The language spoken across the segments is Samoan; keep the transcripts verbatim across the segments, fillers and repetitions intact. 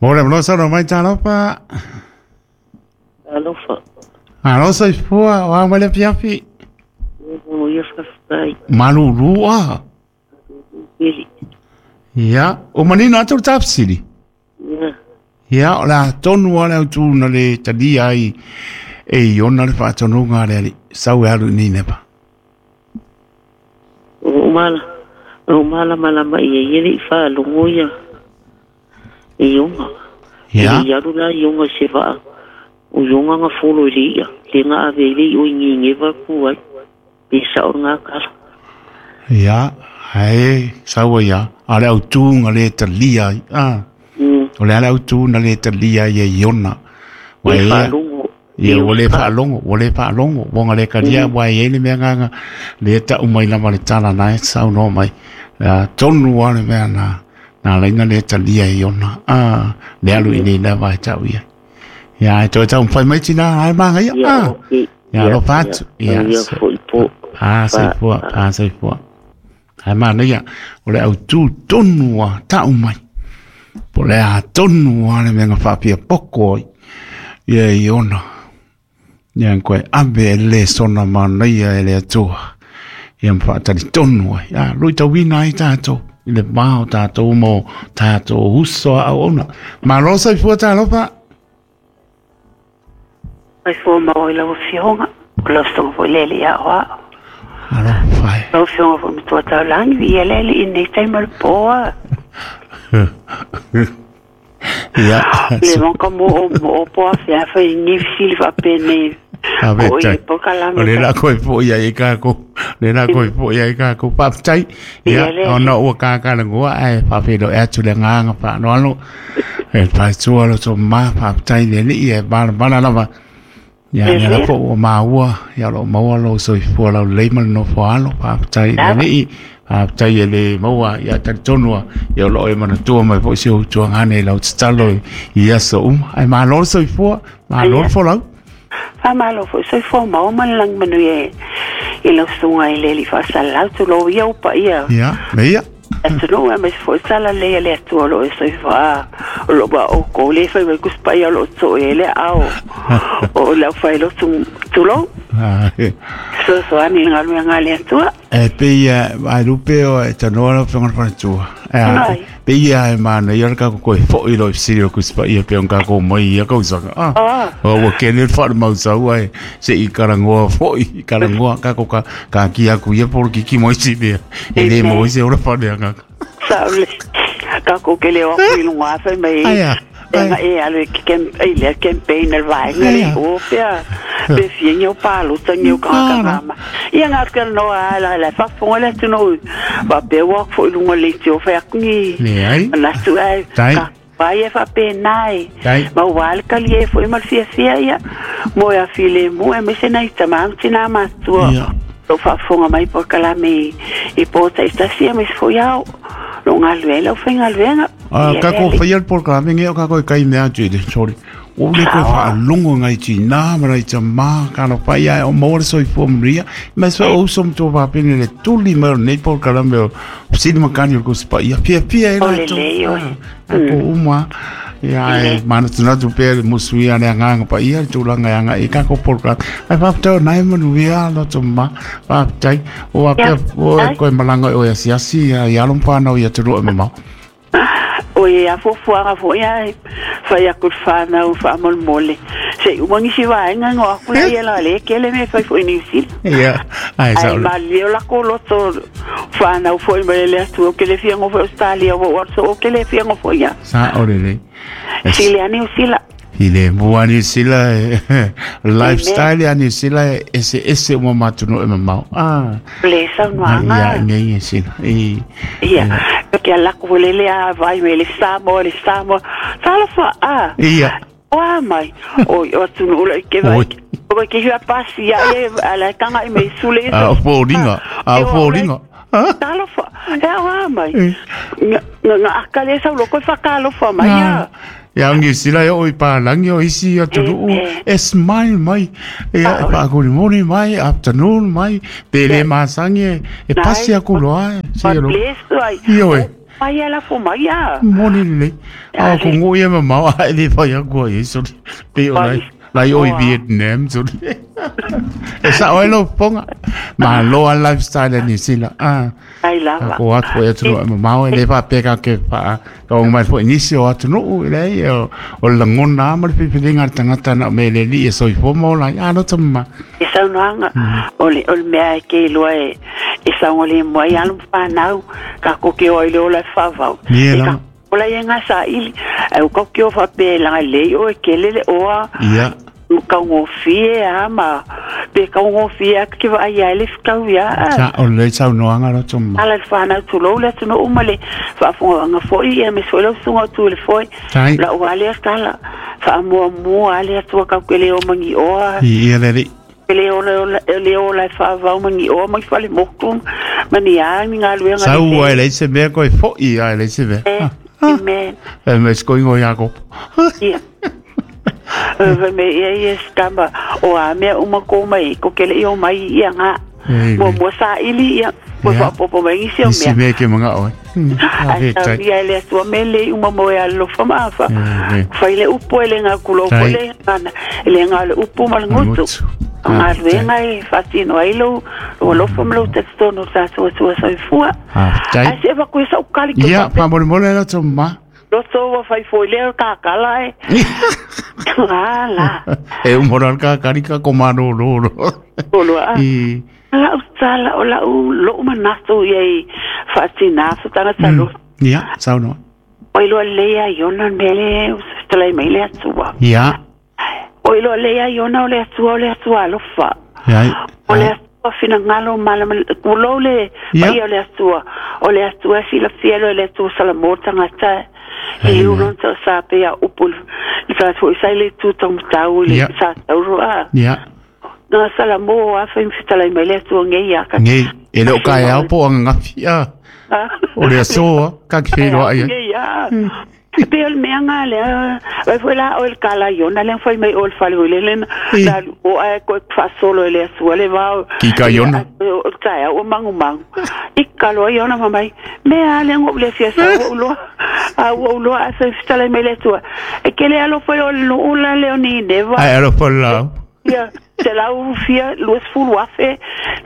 Mo le mlo sa no mai talofa. Alofa. Alo soifua, o a mai le afiafi. O ia faafetai. Malulu a. Pili. Ia, o manino atu le tafesili. Ia. Ia, o le a tonu lava le autū na le talia ai e Iona le faatonuga a le Alii, sau e alu i Nineva. O loo mala, o loo malamalama i ai e le i faalogo ia e Iona. E Ia. le i alu la Iona i se vaa, o Iona na folo i le i'a, le na ave ai le i'o i Nineva ku ai. Pe sa'o lena tala. Ia, ae sau ai lava, a o le autū na le talia ai. Ah. Mm. O le a le autū na le talia ai e Iona. Ua Le e ia, faalogo. ia Le ua le fa. faalogo, ua le faalogo, ua na le talia, Mm. ua e i ai le mea agaga, le ta'u mai lava le tala na e saunoa mai. A tonu lava le mea na, na alaina le talia e Iona. Ah, le alu i Ia. nei lava e ta'u ia. Ia, e toe taumafai mai tinā, ae magaia. Ia, Ah, okei. ia Ia, alofa ia. atu. Ia, Ia so, foi po. a Fa. soifua, a soifua. Ae manaia, o le autū tonu a ta'u mai. Po le a tonu a le mea na faapia poko ai. Ia Iona. Ia koe ave e le sona manaia e le Atua. Ia ma tonu ai. A, lui tauina ai tātou. I le vā o tātou mo tātou uso a auauna. Malo soifua talofa. Mai fua mau i lau afioga, o lau susuga foi le alii aoao. Alofa e. Lau afioga foi matua taulagi, viia le alii i lenei taimi o le poa. Ia. Le vaka mo o mo o po afea fai ni fisili faapenei. A O i vetai. polokalame O le ta. la koe po ia i kākou. Le la koe po ia i kākou. Faafetai. Ia Ia, le ona ua kākalagoa ae faafeiloai atu le agaga faaloalo. E paetua lo to ma faafetai le alii e balabala lava. Ia, Le ia la lea. po ua maua, ia o loo maua lou soifua laulelei ma le nofo alo. Faafetai le Lava. alii. Faafetai e le maua, ia talitonu lava, ia o loo e manatua mai foi si ou tuagane i lau tatalo i i aso uma. Ae malo le soifua, malo Ia. le folau. Faamalo foi soifua maua ma le lagi manuia i lau susuga i le alii faasalalau tulou ia upa ia. Ia, me ia. Atunuu aemaise foi sala lei a le Atua o loo e soifua o loo maoukou le fai mai kusipaia o loo to'e ai le aao o le aufailotu tulou. Ah, Fesoasoani i le galuega a le Atua. E pei e ai lupe o e tanoa lau afioga i le faletua. E a, Ai. pei a e manaia le kākou koe fo'i loa i fesili o le Tusi Paia pe ona kākou mai i ia kausaga. Ah, Ah. o ua kene le faalemausau ae se'i kalagoa fo'i, kalagoa kākou ka kakia aku ia polokiki mo isi mea. E lē Amen. maua ai se ola faaleagaga. Sa o le kākou ke le o aku i luga fai mai Ai a, e ai. nga e alu i ke kem- i lea campaign a le vaega Ai le a. o pea pe fia ni o palota ni o kakakama. Ia nga atu noa a la la faafofoga le atunuu faapea ua aku foi i luga o le leitio fai aku ni Leai. manatu ae Tai. ka pai e faapena e. Tai. Ma ua le kalie foi ma le fiafia ia mo e afilemu aemaise nai tamā ma tinā matua. Ia. Lou faafofoga mai polokalame i i po ta'itasi aemaise foi ao loo galue ai lau faigaluega. A Ia le kākou alii. faia le polokalame ge o kākou e kai mea atu i le sorry. O le koe Saoa. faalogo ngai tinā ma nai tamā kalafai ae o maua le soifua manuia. Ma se o uso ma tua faapene le tuli mai o lenei polokalame o fesili makani o le Tusi Paia. Fiafia ai O latou. lelei oe. Ah, kākou uma. Ia ae manatunatu pea le musuia le agaga paia le tulaga e aga'i i kākou polokalame. Ae faafetai o nai manuia loto ma. Faafetai. O Ia. apea o e Ai. koe malaga i oe asiasi ia i alo ma fanau i atunuu e mamao. O e afuafuaga foi ae fai aku le fanau faamolemole se'i uma nisi vaega go aku la ia la lē kele mea fai foi Niusila. Ia, ae Ae sa'o le. malie o lakou loto fanau foi mai le Atua ke le fiago foi Australia ua ou alu o ke le fiago foi ia. Sa'o lelei. E Sili a Niusila. I le mua Niu Sila e Amen. lifestyle a Niu Sila e eseese uma ma atunuu e mamao. Ah, Le ia saunoaga. igei e sila. I Ia ke alako foi lele a vai mai le Samoa le Samoa. Talofa a. ia. O a mai. O o atunuu la i ke vai. Oi. O ke hua pasi ia e ala tanga i mai sule. A o foliga, a o foliga. Ah, Talofa. E au a mai. Eh. Nga nga akale sau loko e whakalofa mai Ah. a. Ia Niu Sila e oo i palagi o isi atunuu Eh, e smile mai. Ia e faakolimoli mai, afternoon mai, pe le masagi e e pasi aku loa e. God Se lo. bless ai. Ioe. Ai ala fo mai a. Moni le. A ko ngo ia ma mau ai le fa ya ko ye so. Pe o lai lai o Vietnam so. E sa oi lo ponga. Ma lo a lifestyle ni sila. Ah. Ai lava. Ko atu e atu ma mau e le fa pe ka ke fa ka o mai fo inisi o atu no le o o langona ma le pipilinga tangata na me le li e soifua ma ola ai a lo tama. E saunoaga o le o le mea e ke iloa e e saogalemu ai alo ma fanau ka ke o ai le ola e faavau. Ie E lava. ka ola ia gasaili ae ua kauke o faapea e lagalei oe kele le oa Ia. kaugofie a ma pe kaugofie a ke vaai ai le fekau ia a. Sa o le saunoaga lo tama. Ala le fanau tulou le atunuu ma le faafogaga fo'i ia me so'i lau susuga o tu i le foe Tai. la'u a lea tala faamuamua a le atua kauke le o magioa Ia le li. le ola le ola e faavau magioa mai fale motu ma ni a ni galuega Sau ai le se mea koe fo'i ai le se mea. lelei amen E me sko ingo ia ko. ia Vai me ia ia skamba o a mea uma ko mai ko kele i o mai ia ngā Ei, mo mo sa ili ia mo Ia. fa popo mai isi o Isi mea mea ke manga oe. A ai he tau tai. ia le atua me le uma mo e alofa ma afa Eh, eh. fai le upu e le ngā kulo Tai. po le ngana le ngā le upu ma le ngutu Ngutu. o ngā luenga e whatino ai lo lo alofa ma lo tetitono tātua tua soifua Ah, tai. ai se waku e sa ukali ke Ia, pape pa mole mole lo tama. loto wa fai foi le kakala e ala E umora ka karika ko mano ro ro. olo a I la utala o la u lo manato ia i whatina futanga talo ia, saunoa. o ilo lea iona mele ustalai mai le atua Ia. o ilo lea iona o le atua o le atua alofa Ia. o le atua finangalo mala kulo le Ia. paia o le atua o le atua silafia lo le atua salamo tagata i ulon sa sa pe ia upu le sa fo sai le tu tau le Ia. sa tauro a Ia. na salamo a fa mfitalai mai le atua ngei ia ka Ngi, e le o ka au po ang ngawhia. O le asoa, ka ki whenua ia. Ia. Pe o le mea ngā lea, vai foi la o le kala iona, lea fai mai o le fale o le lena, I. la o ai koe whasolo e le asua le vao. Ki ka iona. O taia o mangu mangu. I kaloa iona mamai, mea lea ngō le fia sa ua uloa, a ua uloa a sa fitala mai le atua. E ke le alo foi o le ula leo ni neva. Ai alo po lau. Ia, te lau fia luas fulu afe,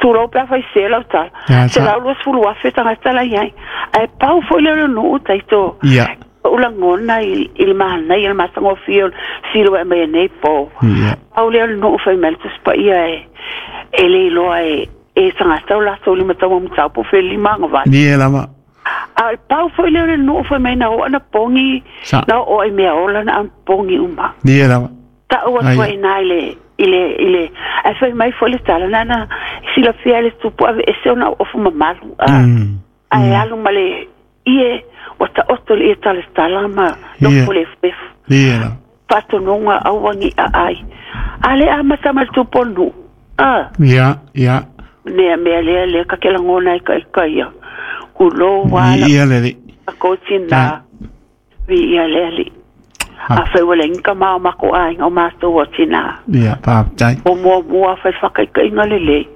tulou pe a fai se lau tala. Ia, Te sa. lau luas fulu afe tangata la iai. Ai pau foi leo nuu taito. Ia. Ula ngona i i le mahana i le masango fia silo e mai nei po. Ia. Pau leo nuu fai mele tuspa ia e e le iloa e e tangata o latou lima tau matau po fe lima ngavali. Ni e lama. A pau foi leo nuu fai mai na o ana pongi Sa. na o ai mea ola na ana pongi uma Ni e lama. ta ua Ai. tua ina i le i le i le ai fai mai foi le tala nana silafia le tupu ave ese ona ofu mamalu a Mm. ai alu ma le ie o ta oto le ie tala tala ma Ie. nofo le fefu Ni e lama. faatonuga auagi a ai a le amata ma le tupu o le nuu a Ia, ia. nea mea lea lea ka ke lagona ai kaikaia kulō ala Ia le li. ko tina vi ia lea li a fai ua leai ka mao mako aiga o matou o tina Ia, pa tai. o muamua fai whakaikaiga lelei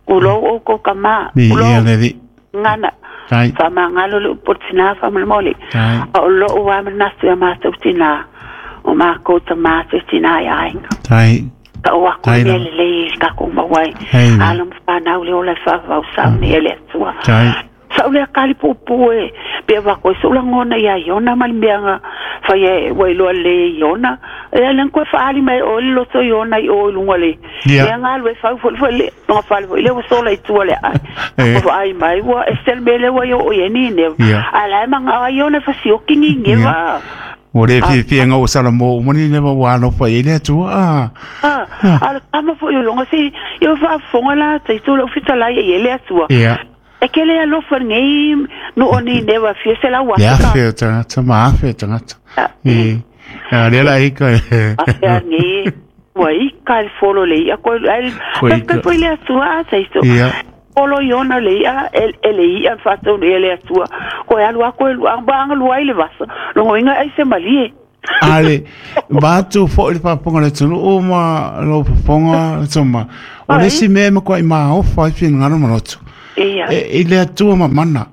kulou oukou kamā Ni ia kulou le li. gana Tai. faamagalo le upu o le tinā faamalemole Tai. a o lou a manatu ia matou tinā o makou tamā te tinā i aiga Tai. ta'u aku Tai mea lava. lelei i le takou maua ai Hei. alo ma fanau le ola e faavavau sauni e le atua Tai. sa'u lea kali puupuu e pe avako e so'u lagona iā iona ma le meaga fai e ua iloa lē iona e alega koe fa'aali mai oe le loto iona i o i luga le Ia. mea galu e fau fo'i fo'i le loga fale fo'i lea ua sola i tua le ai Eh. ua fa'ai mai ua ese le mea lea ua i oo i ai ni Ia. ae lae maga'a ai ona e fasioki gigeva O le fia fia ngau sala mo mani le wa no fa ile tu a. a a le kama fo'i o loga se ia fa'afofoga la taito la'u fitalai ai e le atua Ia. e ke le alofa nei no o ni newa fia se lau Ia afe fe tangata ma fe tangata. ka I. A le la i ka. afe a nei ua i ka le folo le ia ko ai Ko i ka ka- ko le atua a taito Ia. folo iona le ia e e le ia fatou le le atua ko e alu a ko e lu anga anga lua i le vasa longo inga ai se malie Ale batu fo le paponga le tunu o ma lo paponga tuma. O le Ai. si me ma ko i ma o fa fi ngano maloto. ia E i le atua ma mana.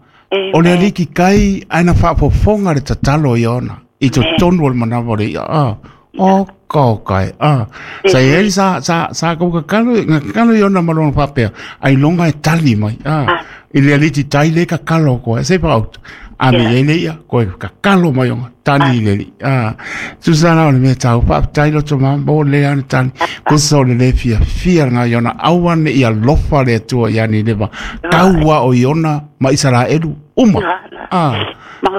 O le aliki kai aina faafofoga le tatalo i ona i totonu o le manawa o le ia a o ka kai a sa i sa sa sa ko kakalo ngakalo i ona ma lona faapea ai longa e tali mai a i le aliki tai le kakalo ko se pa out a me ia le ia ko kakalo mai ona tali le li a Susana o le mea tau faafetai loto ma mo le ana tali ko so le le fia fia nga iona aua ne ia lofa le Atua ia ni leva kaua o iona ma Isaraelu uma a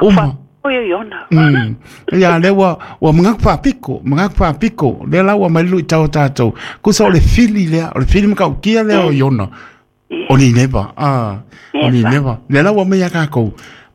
uma o iona mm ia le ua ua mga faapiko mga faapiko le la ua mai lui tau tātou ko so le fili le o le fili ma kaukia le o iona o ni leva a o ni leva le la ua mai ia kākou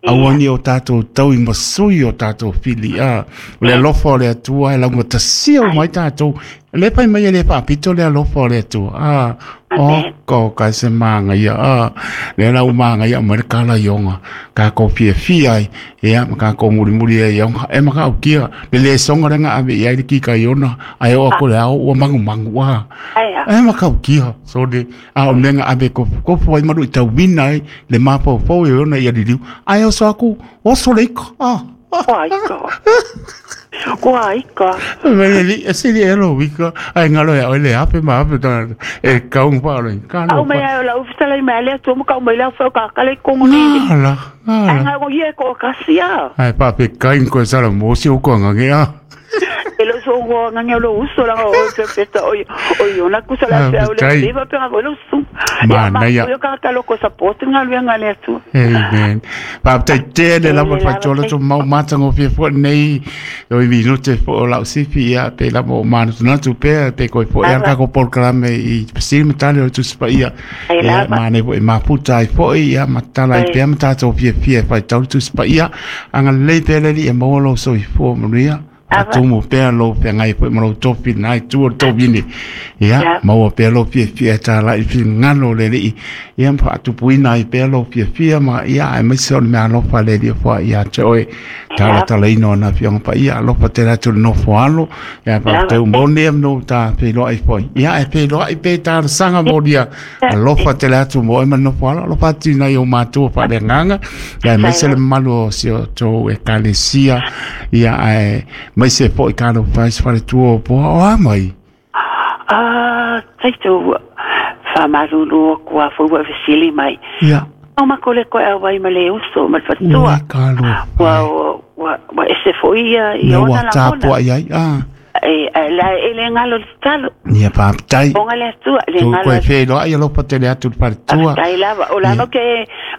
Auani o tātou tau i masui o tātou fili a le alofa o le Atua e lauga tasia o mai tātou le pai mai e le faapito le alofa o le Atua a o ko kai se manga ia a le lau manga ia mai le kala ionga ka ko fia fia ai ia ma ka ko muri muri e ionga e maka o kia le le songa lenga ave ia i le kika iona ai o ko le ao ua mangu mangu a e maka o kia so de a o lenga ave ko ko foi maru i tau wina ai le mapo fo e ona ia liliu ai o so aku o so leiko a Ai ka. Ko ai ka. Me li se li elo wika ai ngalo ya ole ape ma ape ta e kaung pa lo ka no. Au me ai la ufta la me le tu mo ka mo la fo ka ka le kongo ni. Ala. Ai nga ko ye ko ka sia. Ai pa pe kain ko sala mo si o ko nga ya. E lo so go nga nga lo uso la o pe pe ta o o yo na kusa la pe o le va pe va lo su. Ma na ya. Yo ka ka lo ko support nga lo nga le tu. Amen. Pa te te le la pa chola to mau mata ngo fie fo nei o i minute fo la sifi ia pe la mo manu na tu pe pe ko fo ia ka ko por klame i psi metale o tu spa ia. Ia ma ne fo ma puta i fo ia matala i pe mata to fie fie fa tau tu spa ia anga le pe le e mo lo so i fo mo ia. A tumu pea lo pea ngai po mo topi nai tu topi ni ia mo pea lo fia fia ta la i ngalo le li ia pa tu puina i pea lo fia fia ma ia ai mai so me alo pa le li fo ia te oi ta la ta le no na fia pa ia lo pa te la tu no fo alo ia pa te mo ne no ta pe lo ai fo ia e pe lo ai pe ta sanga mo dia lo pa te la tu mo e no fo alo lo pa ti na yo ma tu pa le nganga ia mai se le malo si o to e kalesia ia ai mai se po i kalo pais fale tuo po o a mai. Ah, taito whamaruru kua fua vesili mai. Ia. O makole koe au vai ma le uso ma le fatua. Ua kalo. Ua, ua, ua ese foia i ona ua la tāpua i ai, ah. E, la, e le ngalo le talo. Ia pāptai. Onga le atua, le Tu ngalo. koe whenua ai alofa te le atu le fatua. Tai lava, o lava ke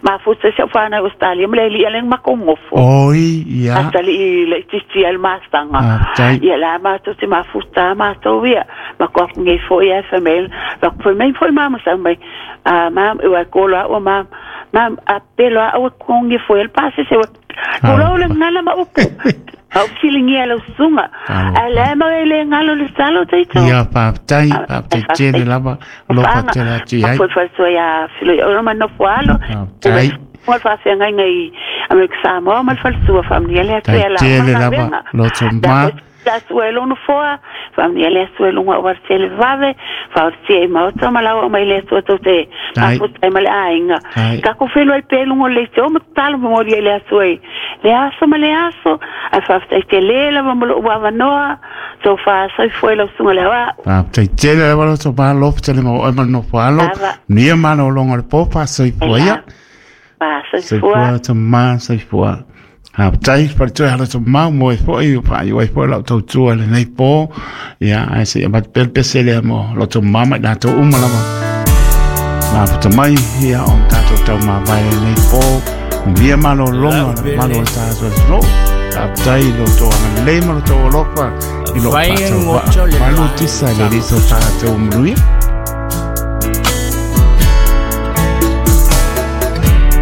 mafuta se whana Australia, ma le li aleng makongofo. Oi, ia. Atali i le titi al mastanga. Pāptai. Ia la mātou te mafuta mātou ia. Ma koa ngai fo ia femel. Ma koa mai fo mama sa mai. Ah, mam, ua kola o mam. Mam, a pelo a ua kongi fo el pase se ua. Kola o le ngala ma upu. Au filingi ala usunga. Ala ma ele ngalo le salo taito. Ia pāptai, pāptai tele lava. Alofa te le atu i ai. Ma foi foi ia filo i ora ma nofo alo. Pāptai. Mo fa se ngai ngai Amerika Samoa ma fa sua família le Tai atu tele lava loto ma. La sua lo no foa família le sua lo wa tele vave fa te ma o ma la ma le sua to te Tai. ma fu ma le ainga Tai. ka ko felo ai pelo ngo le te o ma talo mo le le sua le aso ma le aso a fa te le la ma lo wa va noa so fa so foi lo sunga le wa Pāptai tele lava loto ma alofa tele ma o ma nofo alo. Lava. Nia mana o longa le pōpa soi fua ia. fa so Soi foi fua to ma soi fua. Pāptai pare toe hala to mau mo e fo i pa i wai fo lau tau tua le nei pō. Ia ai se ma pelpese le mo lo to mama i nā tau uma lava. Nā puta mai ia on tātou tau mā vai le nei pō. Nia mana o longa le malo o tātou no. Pāptai lo to anga le ma lo to alofa i lo pātau wa. Malu tisa le li so tātou mruia.